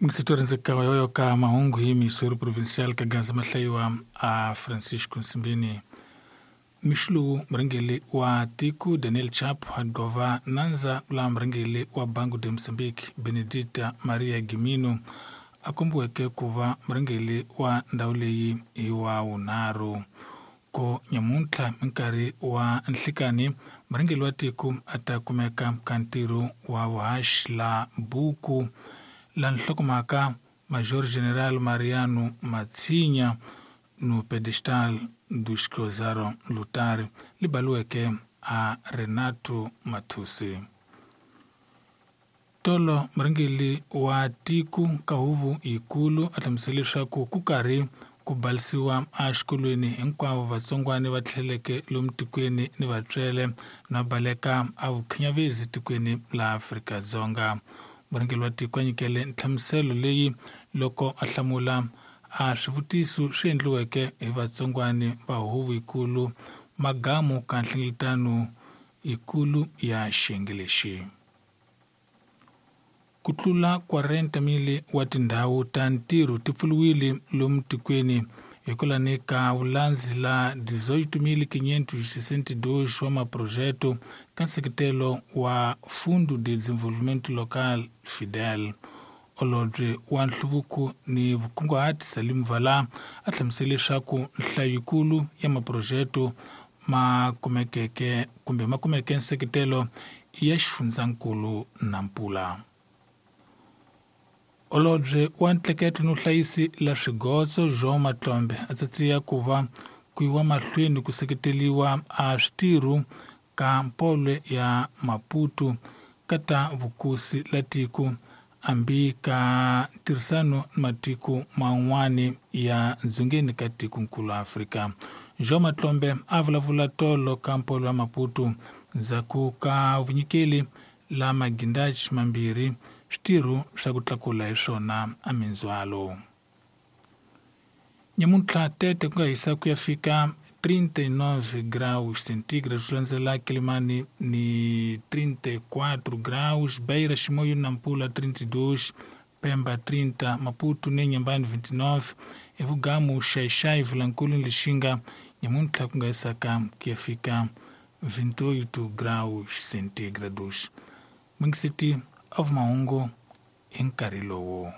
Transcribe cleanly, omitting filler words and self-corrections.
Mixitorinzeka yoyo ka mahungu hi Missouri Provincial ka Gaza mahlayiwa a Francisco Nsimbini. Mixo lowu murhangeri wa tiko Daniel Chapo a gova nandza la murhangeri wa Banco de Moçambique Benedita Maria Gimino a kombiweke ku va murhangeri wa ndhawu leyi hi wa vunharhu. Ko nyamuntlha minkarhi wa nhlikani murhangeri wa tiko a ta kumeka ka ntirho wa vuhaxi la buku la nhlokomhaka Major General Mariano Matshinya no pedestal dos que ousaram lutar li baliweke a Renato Mathusi. Tolo murhangeri wa tiko ka huvo yikulu a hlamusela leswaku ku karhi ku balisiwa exikolweni hinkwavo vatsongwana va tlheleke lomu tikweni ni vatswele na baleka a vukhinyavezi tikweni la Afrika-Dzonga. Murhangeri wa tiko a nyikele nhlamuselo leyi loko a hlamula a swivutiso swi endliweke hi vatsongwana va huvo yikulu magamu ka nhlengeletano yikulu ya xiyenge lexi. Ku tlula 40,000 wa tindhawu ta ntirho ti pfuriwile lomu tikweni hikwalani ka vulandzi la 18,562 wa maphurojete ka nseketelo wa Fundo de Desenvolvimento Local FIDEL. Holobye wa nhluvuko ni vukunguhati Salim Vala a hlamusele leswaku nhlayo yikulu ya maphurojete ma kumekeke kumbe ma kumeke nseketelo ya xifundzankulu Nampula. Holobye wa ntleketlo no hlayisi la swigotso João Matlombe a tsatsiya ku va ku yiwa mahlweni ku seketeliwa a switirho ka mpolwe ya Maputo ka ta vukosi la tiko hambi ka ntirhisano ni matiko man'wani ya dzongeni ka tikonkulu Afrika. João Matlombe a vulavula tolo ka mpolwe ya Maputo ndzhaku ka vunyikeli la magindachi mambirhi switirho swa ku tlakula hi swona a mindzhwalo. Nyamuntlha tete ku nga hisa ku ya fika 39 graus centígrados swi landzela Quelimane ni 34 graus, Beira, Chimoio na Nampula 32, Pemba 30, Maputo ni Inhambane 29, Evugamu, Xai-Xai, Vilankulu ni Lixinga nyamuntlha ku nga hisaka ku ya fika 28 graus centígrados. Mungiseti of mahungu hi nkarhi lowu.